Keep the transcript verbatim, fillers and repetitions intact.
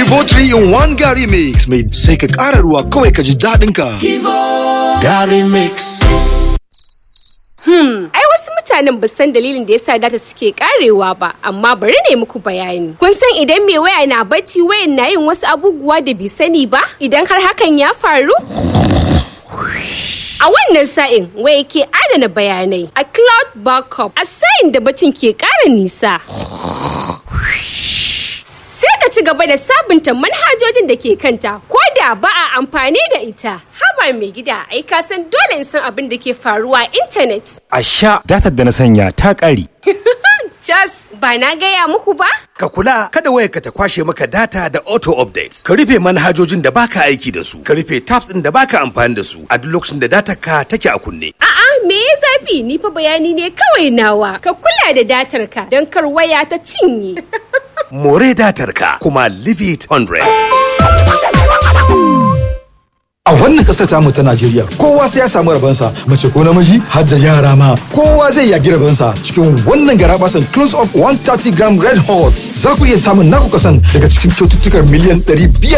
Kivo three in one Gary Mix mai sai ka ƙara ruwa kawai ka ji daɗin ka. Gary Mix. Hmm, ai wasu mutanen ba san dalilin da yasa data suke karewa ba, amma bari ne muku bayani. Kun san idan mai waya na bacci, wayan na yin wasu abubuwa da bai sani ba? Idan har hakan ya faru? A wannan sa'in waya ke adana bayanai a cloud backup a sa'in da bacin ke ƙara nisa. Sai ta ci gaba da sabunta manhajojin da ke kanta ko da ba a amfani da ita. Haba mai gida, ai ka san dole in san abin da ke faruwa a intanet. A sha datar da na sanya ta ƙare. Just ba na gaya muku ba? Ka kula kada wayarka ta kwashe maka data da auto update. Ka rufe manhajojin da baka aiki da su. Ka rufe tabs ɗin da baka amfani da su a duk lokacin da datar ka take a kunne. A'a, me ya zafi? Ni fa bayani ne kawai nawa. Ka kula da datar ka don kar waya ta cinye. More datar ka kuma leave it one hundred. A wannan kasar tamu ta Najeriya, kowa sai ya samu rabansa, mace ko namiji, har da yara ma, kowa zai yagi rabansa cikin wannan garabasan Close Up one hundred thirty gram Red Hot. Za ku iya samun naku kasan daga cikin kyaututtukar miliyan ɗari biyar.